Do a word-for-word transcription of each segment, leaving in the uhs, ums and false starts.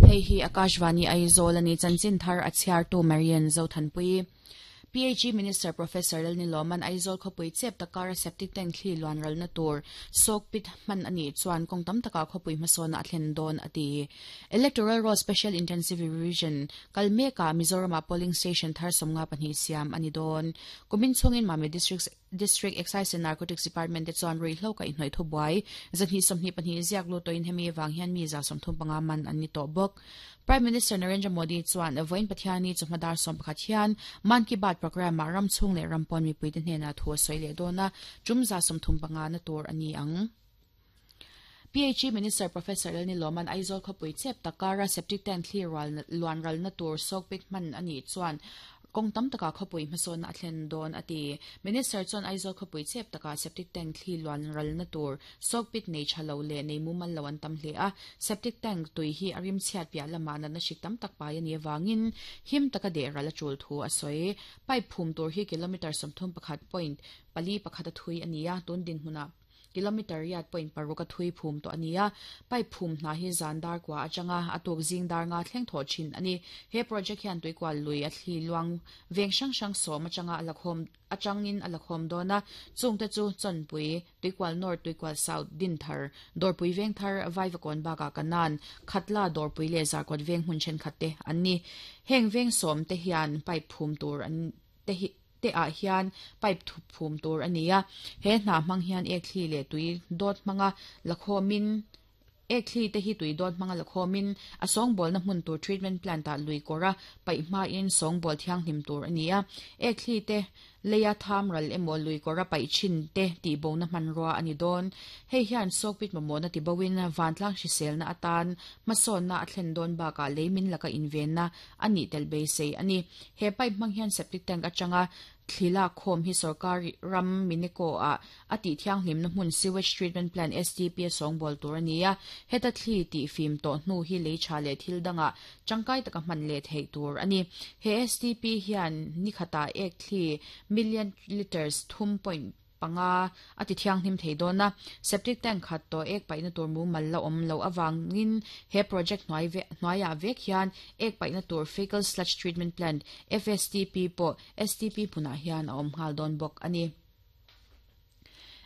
Hei hi Akashvani Aizawl ani chanchin thar a chhiartu Marian Zothanpui. P H E Minister Professor Lalnilawma'n Aizawl khawpui chep takara septic tank thli luan ralna tur soak pit hman ani chuan kawng tam taka khawpui hmasawna a thlen dawn a ti. Electoral Roll Special Intensive Revision kal meka Mizoram polling station thar sawmnga pahnih siam ani dawn. Kumin chhungin Mami District District Excise and Narcotics Department te chuan ruihhlo kaihhnawih thubuai zahnih sawmhnih pahnih ziak lut tawhin hemi awang hian mi za sawmthum panga man an ni tawh bawk. Prime Minister Narendra Modi chuan vawiin Pathianni chawhma dar sawm pakhat hian Man Ki Baat program ah ram chhung leh ram pawn mipui te hnenah thu a sawi leh dawn a, tum za sawmthum panga na tur a ni ang. P H E Minister Professor Lalnilawma'n Aizawl khawpui chep takara septic tank thli luan ralna tur soak pit hman ani chuan kawng tam taka khawpui hmasawna a thlen dawn a ti. Minister chuan Aizawl khawpui chep taka septic tank thli luan ralna tur soak pit nei tha lo leh nei mumal lo an tam hle a. Septic tank tui hi a rim chhiat piah lama natna hrik tam tak pai ani awangin him taka deh ral a tul thu a sawi. Pipe phum tur hi kilometer sawmthum pakhat point pali pakhat a thui ani a, tun din hmuna kilometer riat point paruk a thui phum to ania. Pipe phum hna hi zan dar kwa atanga atuk zing dar nga thleng tho thin ani. He project hian tuikwal lui a thli luang veng hrang hrang sawm atanga alakhawm atangin alakhawm dawna, chungte chu Chawnpui, Tuikwal North, Tuikwal South, Dinthar, Dawrpui Vengthar, Vaivakawn baka Kanan, Khatla, Dawrpui leh Zarkawt veng hmun thenkhat te an ni. Heng veng sawm te hian pipe phum tur an te hi te ah hian pipe thup phum tur ani a. He hna hmang hian ek thli leh tui dawt hmanga lakhawmin ek thli te hi tui dawt hmanga lakhawmin a sawngbawl na hmun tur treatment plant ah lui kawra paih hmain sawngbawl thianghlim tur ani a. Ek thli te leia tham ral emaw lui kawra paih thin te tihbo na hmanrua ani dawn. Hei hian soak pit mamawh na tibawin vantlang hriselna atan hmasawnna a thlen dawn bakah leimin laka invenna ani tel beisei ani. He pipe hmang hian septic tank atanga thlila khawm hi sarkar ram Mineko a ati thianghlim na hmun sewage treatment plant S T P a sawngbawl tur ani a. Heta thli ti fim to hnu hi lei tha leh thil danga tangkai taka hman leh theih tur ani. He S T P hian ni khata ek thli million liters thum point panga ati thianghlim thei dawn a. Septic tank khat to ek paihna tur mumal la awm lo awangin he project hnuai ve hnuaiah vek hian ek paihna tur fecal sludge treatment plant F S T P pawh S T P hmunah hian a awm nghal dawn bawk ani.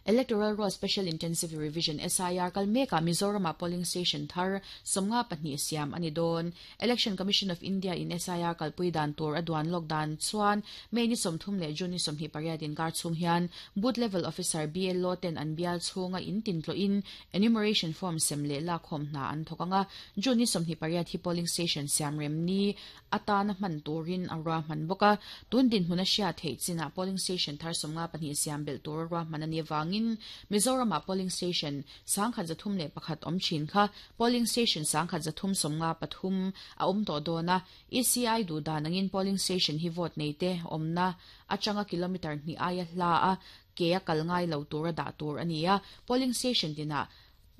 Electoral Roll Special Intensive Revision S I R kal meka Mizoram polling station thar sawmnga pahnih siam ani dawn. Election Commission of India in S I R kalpui dan tur aduan lok dan chuan May ni sawmthum leh June ni sawmhnih pariat in kar chhung hian booth level officer B L O ten an bial chhunga in tin tlo in enumeration form sem leh lak khawm hna an thawk anga. June ni sawmhnih pariat hi polling station siam rem ni atana hman turin a ruahman bawk a. Tun din hmun a hriat theih chinah polling station thar sawmnga pahnih siam belh tur a ruahman ani awangin Mizoram polling station sangkhat zathum leh pakhat awm thin kha polling station sangkhat zathum sawmnga pathum a awm tawh dawn a. E C I duh dan angin polling station hi vote nei te awmna atanga kilometer hnih aia hla a ke a kal ngai lo tur a dah tur ani a. Polling station tinah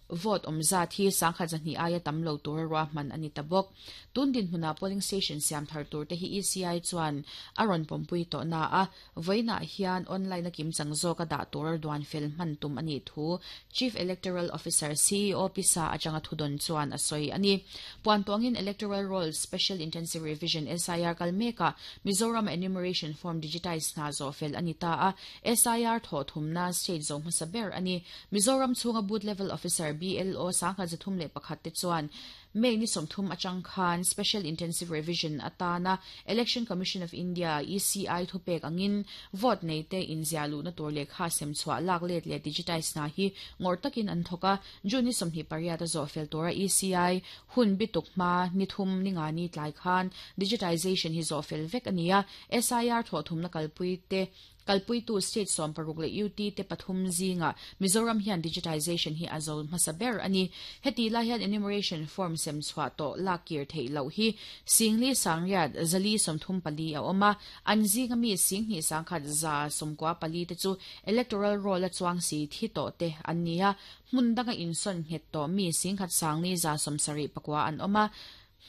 vote awm zat hi sangkhat zahnih aia tam lo tur a ruahman ani ta bawk. Tun din hmuna polling station siam thar tur te hi E C I chuan a rawn pawmpui tawh na a, vawiinah hian online a kim chang zawk a dah tur a duan fel hman tum ani thu Chief Electoral Officer C E O pisa atanga thudawn chuan a sawi ani. Puan tuangin Electoral Roll Special Intensive Revision S I R kal meka Mizoram enumeration form digitize hna zo fel ani ta a. S I R thaw thumna state zo hmasa ber ani. Mizoram chhunga booth level officer B L O sangkhat zathum leh pakhat te chuan May ni sawmthum atang khan Special Intensive Revision atana Election Commission of India E C I thupek angin vote nei te inzia lu na tur lehkha sem chhuah lak let leh digitize na hi ngawr takin an thawk a. June ni sawmhnih pariat a zawh fel tura E C I hun bituk hma ni thum ni nga ni tlai khan digitization hi zawh fel vek ani a. S I R thaw thumna kalpui te kalpui tu state sawm paruk leh U T te pathum zinga Mizoram hian digitization hi a zo hmasa ber ani. Heti lai hian enumeration form sem chhuah tawh lak kir theih loh hi singli sangriat zali sawmthum pali a awm a. An zinga mi singhnih sangkhat za sawmkua pali te chu electoral roll a chuang si thi tawh te an ni a. Hmun danga insawn nghet tawh mi singkhat sangli za sawmsarih pakua an awm a.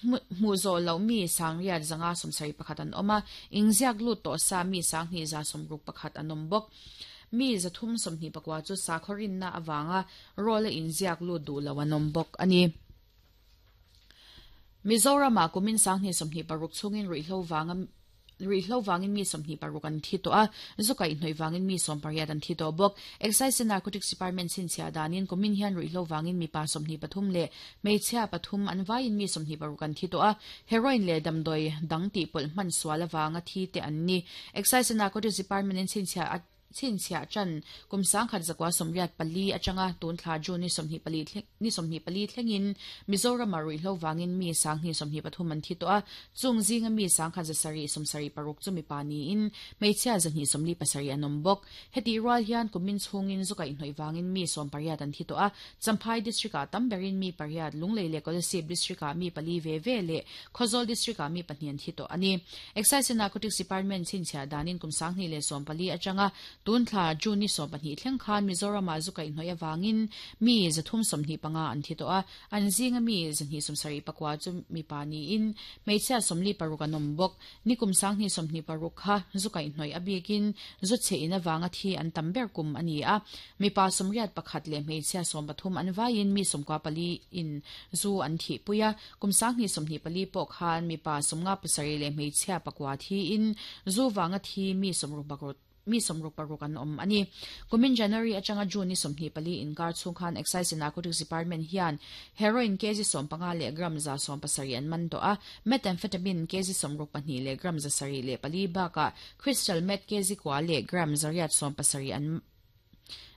Hmu zawh loh mi sangriat zanga sawmsarih pakhat an awm a. Inziak lut tawh sa mi sanghnih za sawmruk pakhat an awm bawk. Mi zathum sawmhnih pakua chu sakhaw rinna awanga roll a inziak lut duh lo an awm bawk ani. Mizoram a kumin sanghni sawmhnih paruk chungin ruihhlo wanga ruihhlo wangin mi sawmhnih paruk an thi tawh a, zu kaihhnawih wangin mi sawm pariat an thi tawh bawk. Excise and Narcotics Department chhinchhiah danin kumin hian ruihhlo wangin mipa sawmhnih pathum leh hmeichhia pathum an vaiin mi sawmhnih paruk an thi tawh a, heroin leh damdawi dang tih pawlh hman sual awanga thi te an ni. Excise and Narcotics Department in chhinchhiah chhinchhiah chan kum sangkhat zakwa sawmriat pali atanga tun thla June ni sawmhnih pali ni sawmhnih pali thlengin Mizoram a ruihhlo wangin mi sanghnih sawmhnih pathum an thi tawh a, chung zinga mi sangkhat zasarih sawmsarih paruk chu mipa niin hmeichhia zahnih sawmli pasarih an awm bawk. Heti rual hian kumin chhungin zu kaihhnawih wangin mi sawm pariat an thi tawh a, Champhai district ah tam berin mi pariat, Lunglei leh Kolasib district ah mi pali ve ve leh Khawzawl district ah mi pahnih an thi tawh ani. Excise and Narcotics Department chhinchhiah danin kum sanghnih leh sawm pali atanga tun thla June ni sawm pahnih thleng khan Mizoram a zu kaihhnawih awangin mi zathum sawmhnih panga an thi tawh a, an zinga mi zahnih sawmsarih pakua chu mipa niin hmeichhia sawmli paruk an awm bawk. Ni kum sanghnih sawmhnih paruk kha zu kaihhnawih abikin zu chhe in awanga thi an tam ber kum ani a, mipa sawmriat pakhat leh hmeichhia sawm pathum an vaiin mi sawmkua pali in zu an thi puia. Kum sanghnih sawmhnih pali pawh khan mipa sawmnga pasarih leh hmeichhia pakua thi in zu wanga thi mi sawmruk paruk mi sawmruk paruk an awm ani. Kumin January atanga June ni sawmhnih pali inkar chhung khan Excise and Narcotics Department hian heroin kg sawm panga leh gram za sawm pasarih an man tawh a, methamphetamine kg sawmruk pahnih leh gram za sarih leh pali bakah crystal meth kg kua leh gram zariat sawm pasarih an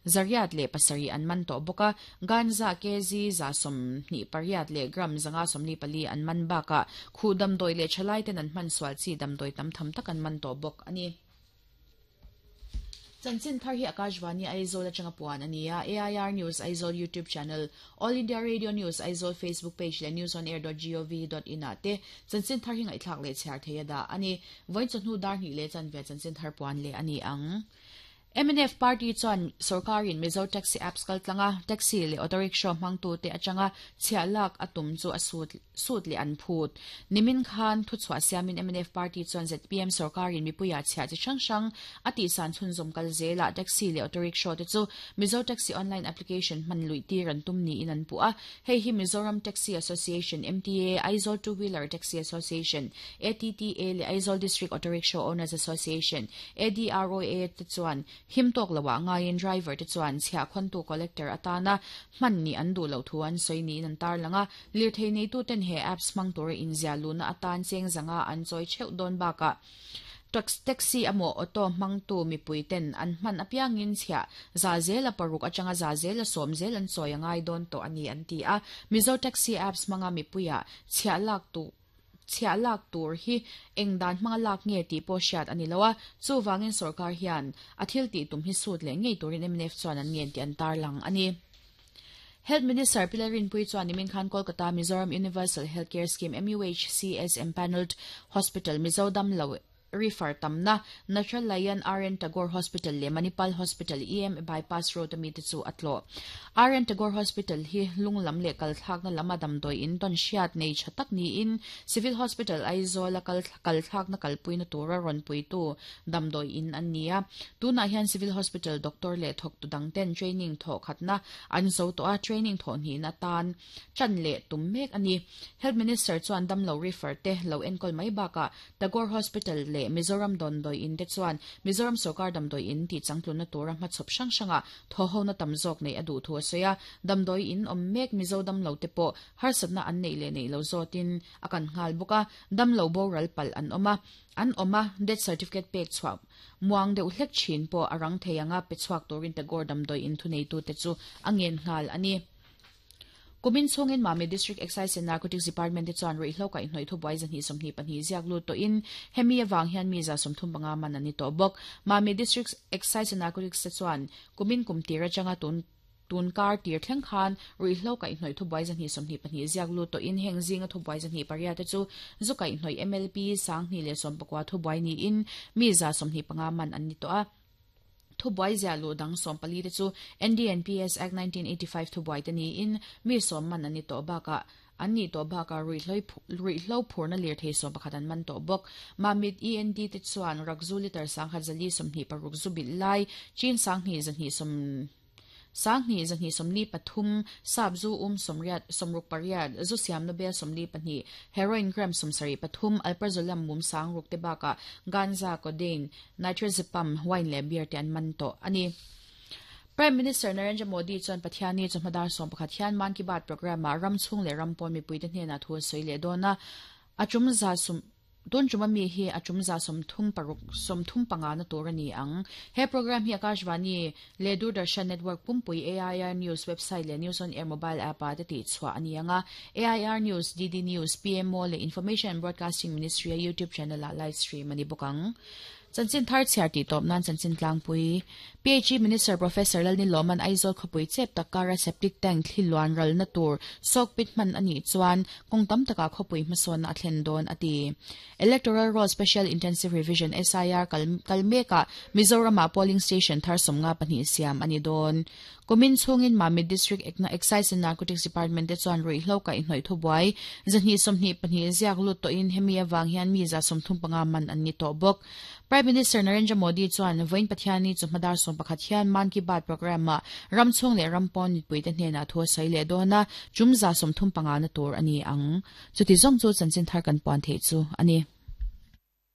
zariat leh pasarih an man tawh bawk a, ganja kg za sawmhnih pariat leh gram zanga sawmli pali an man bakah khu damdawi leh thalai ten an hman sual chi damdawi tam tham tak an man tawh bawk ani. Chanchin thar hi Akashvani Aizawl atanga puan ania. A I R News Aizawl YouTube channel, All India Radio News Aizawl Facebook page leh news on air dot gov dot in ah te chanchin thar hi ngaihthlak leh chhiar thei a dah ani. Vawiin chawhnu dar hnih leh chanve chanchin thar puan leh ani ang. M N F Party chuan sarkarin Mizo Taxi Apps kaltlanga taxi leh auto rickshaw hmangtu te atanga chhiah lak a tum chu a sut sut leh an phut. Nimin khan thuchhuah siamin M N F Party chuan Z P M sarkarin mipuia chhiah chi hrang hrang a tihsan chhunzawm kal zela taxi leh auto rickshaw te chu Mizo Taxi Online Application hman lui tir an tum niin an pu a. Hei hi Mizoram Taxi Association M T A, Aizawl Two Wheeler Taxi Association A T T A leh Aizawl District Auto Rickshaw Owners Association A D R O A te chuan him tawk loah ngaiin driver te chuan chhiah khawntu collector atana hman ni an duh loh thu an sawi niin an tar langa. Lirthei neitu ten he apps hmang tura inzia luna atan cheng zanga an chawi theuh dawn bakah taxi emaw auto hmangtu mipui ten an hman apiangin chhiah za zela paruk atanga za zela sawm zel an chawi angai dawn tawh ani an ti a. Mizo Taxi Apps hmanga mipuia chhiah lak tu chhiah lak tur hi engdan hmanga lak nge tih pawh hriat ani lo a, chuwangin sarkar hian a thil tih tum hi sut leh ngei turin M N F chuan an ngen tih an tar lang ani. Health Minister Pilar Rinpui chuan nimin khan Kolkata Mizoram Universal Healthcare Scheme M U H C S Empanelled Hospital Mizoram lo refer tamna Natural Lion R N Tagore Hospital le Manipal Hospital E M Bypass Road ami te chu atlo. R N Tagore Hospital hi lunglam le kalthlak na lama damdoi in ton hriat nei thatak ni in Civil Hospital Aizawl kal kalthlak na kalpui na tura ron pui tu damdoi in an nia. Tuna hian Civil Hospital doctor le thok tu dang ten training tho khatna an zo to a training tho ni na tan chan le tum mek ani. Health Minister chuan dam lo refer te lo enkol mai baka Tagore Hospital le Mizoram don doi in te chuan Mizoram sarkar dam doi in ti changtlun na tura hma chhop hrang hranga tho ho na tam zawk nei adu thu soya dam doi in om mek Mizo dam lo te pawh harsatna an nei le nei lo zawtin akan ngal buka dam lo boral pal an oma an oma death certificate pek chhuak muang deuh hlek thin pawh arang theianga pe chhuak turin Tagore dam doi in thu nei tu te chu angen ngal ani. Kumin chungin Mami District Excise and Narcotics Department te chuan ruihhlo kaihhnawih thubuai zahnih sawmhnih pahnih ziak lut tawhin hemi awang hian mi za sawmthum panga man ani tawh bawk. Mami District Excise and Narcotics te chuan kumin kum tir atanga tun tun kar tir thleng khan ruihhlo kaihhnawih thubuai zahnih sawmhnih pahnih ziak lut tawhin heng zinga thubuai zahnih pariat te chu zu kaihhnawih M L P sanghnih leh sawm pakua thubuai niin mi za sawmhnih panga man an ni tawh a. Thubuai zia lu dang sawm pali te chu N D N P S Act nineteen eighty-five thubuai te niin mi sawm man ani tawh bakah an ni tawh bakah ruihhlo phurna lir thei sawm pakhat an man tawh bawk. Mamit E N D te chuan rakzu liter sangkhat zali sawmhnih paruk zu bil lai chin sanghnih zahnih sawm Sanghni zahni somli pathum sap zu um somriat somruk pariat zu siam no bel somli pahnih heroin gram somsari pathum alprazolam mum sang ruk te baka ganza codeine nitrazepam wine le beer te an man to ani. Prime Minister Narendra Modi chuan Pathiani chawhmadar sawm pakhat hian Man Ki Baat program ah ram chhung leh ram pawn mipui te hnenah thu a sawi leh dawn a, a tum za sum tun tum ami hi a tum za sawm thum paruk sawm thum panga na tur a ni ang. He program hi Akashvani leh Doordarshan Network pumpui A I R News website leh News on Air mobile app ah te tih chhuah a ni ang a. A I R News, D D News, P M O leh Information and Broadcasting Ministry a YouTube channel ah live stream a ni bawk ang. Chanchin thar chhiar tih tawp nan chanchin tlangpui. P H E Minister Professor Lalnilawman Aizawl khawpui chep tak kara septic tank thli luan ral na tur soak pit hman ani chuan kawng tam taka khawpui hmasawn a thlen dawn a ti. Electoral Roll Special Intensive Revision S I R kal kalmeka Mizoram ah polling station thar sawmnga pahnih siam ani dawn. Kumin chungin Mamit District Excise and Narcotics Department te chuan ruihhlo ka inhnawih thubuai zahnih sawmhnih pahnih ziak lut tawhin hemi awang hian mi za sawmthum panga man an ni tawh bawk. Prime Minister Narendra Modi chuan vawiin Pathiani chawhmadar sawm pakhat hian Man Ki Baat program ah ram chhung leh ram pawn mipui te hnenah thu a sawi leh dawn a, tum za sawmthum panga na tur a ni ang. Chuti zawng chu chanchin thar kan puan theih chu a ni.